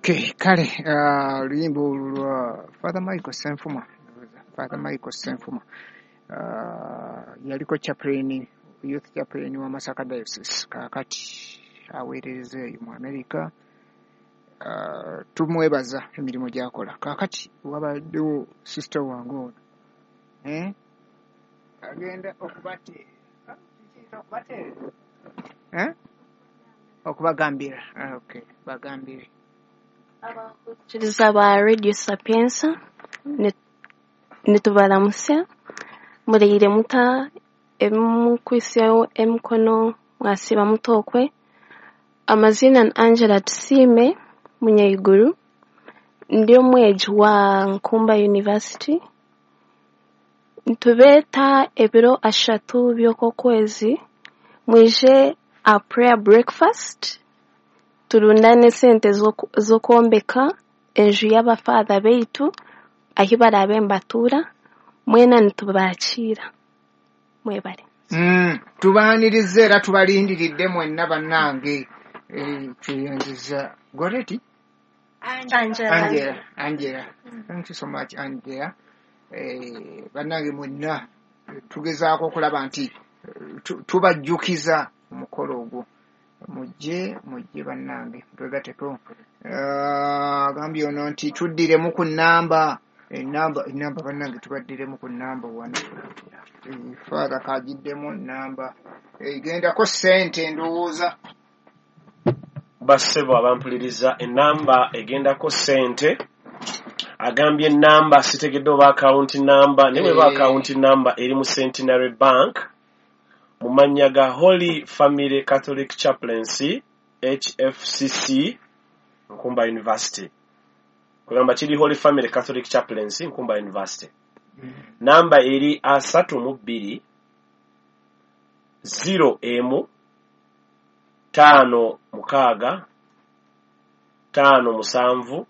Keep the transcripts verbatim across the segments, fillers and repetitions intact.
Okay, kale ah, oluyimba olwo lwa Father Michael Senfuma. Father Michael Senfuma Ah, yaliko chaplain, youth chaplain wa Masaka Diocese, kaakati aweereza eyo mu America. Ah, tumwebaza emirimu gy'akola. Kaakati wabaddewo sister wange ono, eh? Agenda okubateera, okubateera, eh? Okubagambira. Ah, okay, bagambire. Abakurikiriza ba Radio Sapienza, ni- nitubaramusya. Mureire muta emukwisyaho emikono, mwasiba mutokwe. Amazina ni Angela Tusiime Munyaiguru, ndi omwegi wa Nkumba University. Nitubeeta ebiro ashatu by'okwezi mwije a prayer breakfast, turundane esente z'oku- z'okwombeka enju y'abafaatha beitu ahi baraabe nibatuura. Mwena nitubakiira, mwebare. Mm, tubaaniriza era tubalindiridde mwenna bannange. Eh, tweyanziza Goreti. Angela. Angela, Angela, thank you so much, Angela. Eh, bannange mwenna, eh, tugezaako okulaba nti eh, tu- tubajjukiza omukolo ogwo. Mujje, mujje bannange, twegateko. Eh, agambye ono nti tuddiremu ku nnamba, enamba, enamba bannange, tubaddiremu ku nnamba wano. Eh, Father kagiddemu namba egendako ssente ndowooza. Bassebo abampuliriza, enamba egendako ssente, agambye enamba sitegedde oba akawunti namba, naye bweba Eh. akawunti namba eri mu Centenary Bank mu mannya ga Holy Family Catholic Chaplaincy, H F C C, Nkumba University. Kugamba kiri Holy Family Catholic Chaplaincy, Nkumba University. Namba eri asatu mu bbiri zero emu taano mukaaga taano musanvu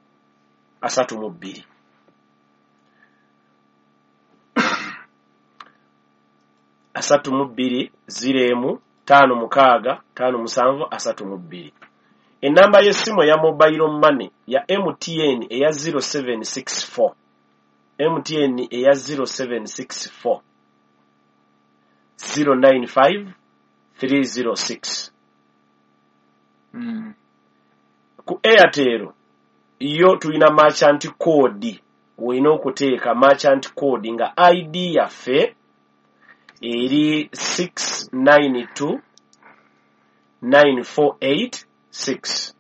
asatu mu bbiri, asatu mu bbiri zero emu taano mukaaga taano musanvu asatu mu bbiri. Enamba y'essimu eya mobile money ya M T N eya zero seven six four, M T N eya zero seven six four zero nine five three zero six. Mm. Ku Airtel yo tulina merchant code, olina okuteeka merchant code nga I D yaffe eri six nine two nine four eight six,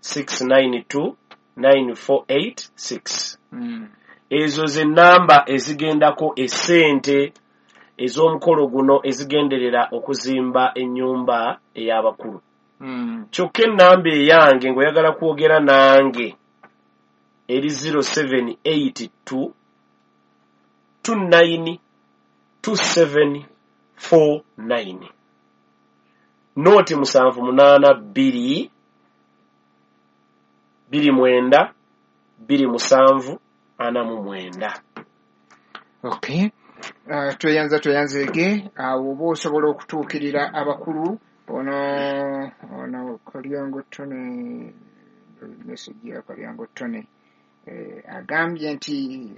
six nine two nine four eight six. Mm. Ezo ze namba ezigendako essente ez'omukolo guno ezigenderera okuzimba ennyumba ey'abakulu. Mm. Kyokka ennamba eyange ng'oyagala kwogera nange eri zero seven eight two two nine two seven four nine, nooti musanvu munaana bbiri bbiri mwenda bbiri musanvu ana mu mwenda. Okay. Uh, tweyanza tweyanzeege. Awo oba osobola okutuukirira abakulu. Ono ono Kalyango Tony, message ya Kalyango Tony, eh, agambye nti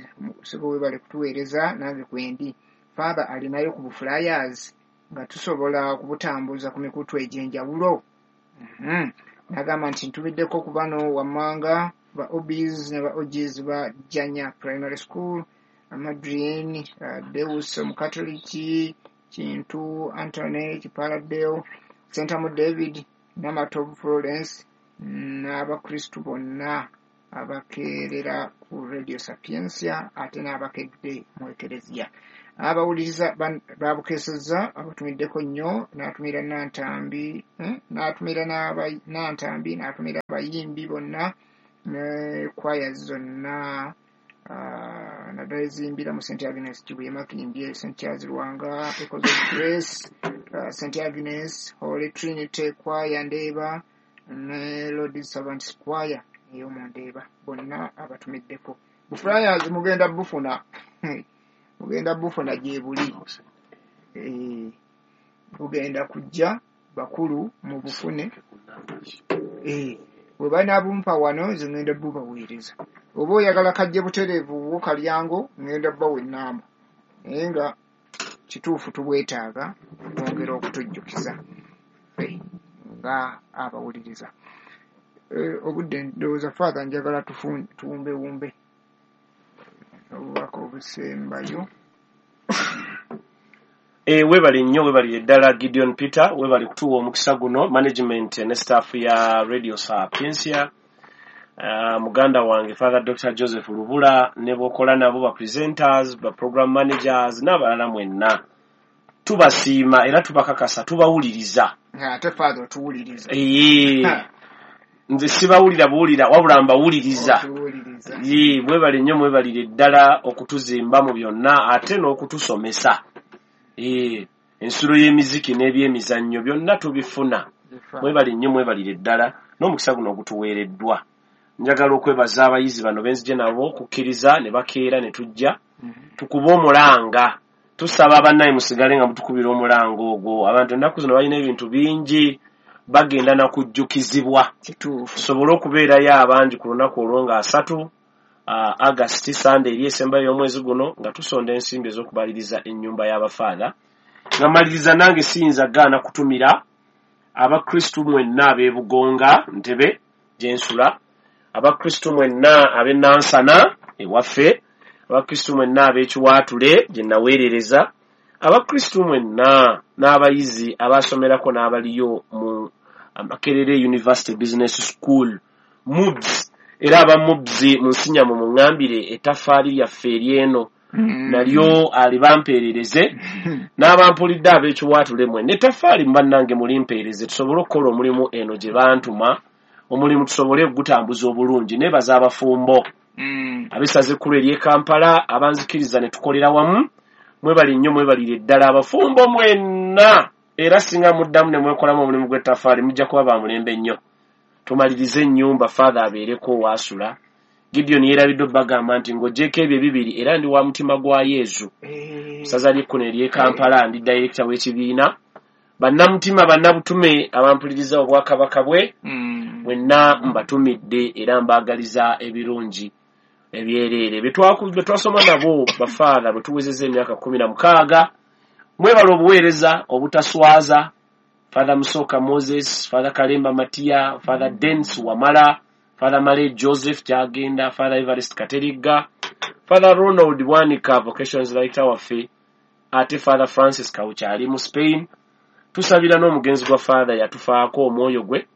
sebo webale kutuweereza, nange kwendi. Father alinayo ku buflyers nga tusobola okubutambuza ku mikutu egy'enjawulo. mm -hmm. Nagamba nti ntumiddeko ku bano wammanga: ba O Bs ne ba O Gs ba Janya Primary School, Amadrin uh, Deus Omukatoliki, Kintu Antony Kipaladeo, Sentamu David, Namatovu Florence, n'abakristu bonna abakeerera ku Radio Sapientia ate n'abakedde mu Ekereziya abawuliriza ban- babukeesezza. Abatumiddeko nnyo, n'atumira Nantambi, eh, n'atumira n'aba- Nantambi, n'atumira abayimbi bonna ne kwaya zonna, ah, naddala eziyimbira mu Saint Agnes Kibuye, Makindye, Saint Charles Lwanga, Echoes of Grace, uh, Saint Agnes, Holy Trinity Choir Ndeeba ne Lord Servants Choir ey'omu Ndeeba. Bonna abatumiddeko. Buflyers mugenda bufuna, mugenda bufuna gye buli. Eh, bugenda kujja, bakulu mubufune. Eh, Bwe banaabumpa wano nze ŋŋenda bubaweereza. Oba oyagala kajje butereevu wo Kalyango, ŋŋenda bbawa ennamba. Naye nga kituufu tubwetaaga okwongera okutujjukiza ffe nga abawuliriza. Eh, obudde ndowooza Father njagala tufu- tuwumbewumbe obubaka obusembayo. E, webale nnyo, webalire ddala Gideon Peter, webale kutuwa omukisa guno, management ne staff ya Radio Sapientia, uh, muganda wange Father Doctor Joseph Lubula ne bokola nabo, ba presenters, ba program managers n'abalala mwenna, tubasiima era tubakakasa tubawuliriza. Ate Father otuwuliriza. Ee, nze sibawulira buwulira wabula mbawuliriza. Otuwuliriza. Ye, mwebale nnyo, mwebalire ddala okutuzimba mu byonna ate n'okutusomesa. Ee, ensulo y'emiziki n'ebyemizannyo byonna tubifuna. Mwebale nnyo, mwebalire ddala n'omukisa guno ogutuweereddwa. Njagala okwebaza abayizi bano benzije nabo okukkiriza ne bakeera ne tujja tukube omulanga. Tusaba bannaye musigale nga mutukubira omulanga ogwo. Abantu ennaku zino balina ebintu bingi, bagenda na kujjukizibwa. Kituufu. Tusobole okubeerayo abangi ku lunaku olwo nga asatu uh, August, Sunday eri esembayo y'omwezi guno, nga tusonda ensimbi ez'okubaliriza ennyumba y'abafaatha. Nga maliriza, nange siyinza gaana kutumira abakristu mwenna ab'e Bugonga, Ntebe gye nsula, abakristu mwenna ab'e Nansana ewaffe, abakristu mwenna ab'Ekiwaatule gye naweerereza, abakristu mwenna n'abayizi abasomerako n'abaliyo mu Makerere University Business School, MUBS. Era aba MUBS mu nsinyamu muŋŋambire ettaffaali lyaffe ery'eno nalyo alibampeerereze, n'abampulidde ab'Ekiwaatule mwenna ettaffaali bannange mulimpeereze, tusobole okukola omulimu eno gye bantuma, omulimu tusobole okugutambuza obulungi. Neebaza abafumbo Mm. ab'essaza ekkulu ery'e Kampala abanzikiriza ne tukolera wamu. Mwebale nnyo, mwebalire ddala abafumbo mwenna. Era singa muddamu ne mwekolamu omulimu gw'ettaffaali, mujja kuba ba mulembe nnyo. Tumalirize ennyumba, Father abeereko waasula. Gideon yeerabidde obbagamba nti ng'oggyeko ebyo ebibiri, era ndi wa Mutima gwa Yezu Eh, ssaza ly'ekkuno ery'e Kampala, ndi dayirekita w'ekibiina. Bannamutima, bannabutume abampuliriza obwakabaka bwe mm. mwenna mbatumidde era mbaagaliza ebirungi ebyereere. Bye twaku- bye twasoma nabo bafaatha bwe tuwezezza emyaka kumi na mukaaga, mwebala obuweereza obutaswaza. Father Musoka Moses, Father Kalemba Matiya, Father Dens Wamala, Father Male Joseph Kyagenda, Father Evarist Katerigga, Father Ronald Bwanika, vocations director waffe, ate Father Francis Kaucha ali mu Spain. Tusabira n'omugenzi gwa Father yatufaako, omwoyo gwe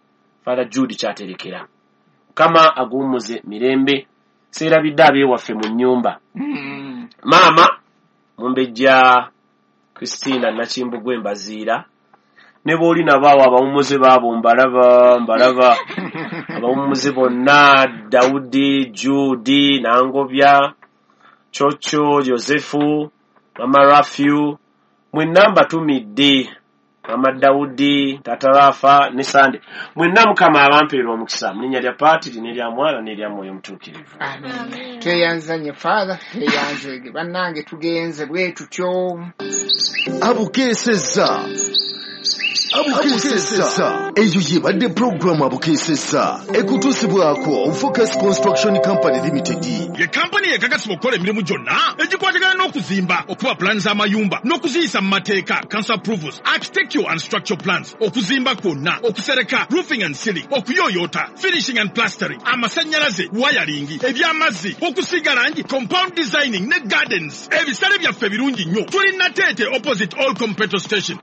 Father Jude Kyaterekera, Mukama aguwummuze mirembe. Seerabidde abeewaffe mu nnyumba, Mm. maama Mumbejja Christina Nakimbugwe Mbaziira, ne booli nabo awo abawummuze baabo mbalaba, mbalaba abawummuze bonna, Dawudi, Judi, Nangobya, Chocho, Yosefu, Mama Rafiu, mwenna mbatumidde, Mama Dawudi, Tata Rafa ne Sande, mwenna Mukama abampeera omukisa mu linnya lya Paatiri n'erya Mwana n'erya Mwoyo Mutuukirivu. Amen. Tweyanza nnyo Father, tweyanzege bannange, tugenze bwe tutyo. Abukeesezza, Abukeesezza, eyo yebadde pulogulaamu Abukeesezza ekutuusibwako Focus Construction Company Limited. Ye kampani ekakasibwa okukola emirimu gyonna egikwatagana n'okuzimba, okuba pulaani z'amayumba n'okuziyisa mu mateeka, council approvals, architectural and structural plans, okuzimba kwonna, okusereka, roofing and ceiling, okuyooyoota, finishing and plastering, amasannyalaze, wiring, eby'amazzi, okusiiga langi, compound designing ne gardens. Ebisale byaffe birungi nnyo. Tuli Nateete, opposite All Petrol Station.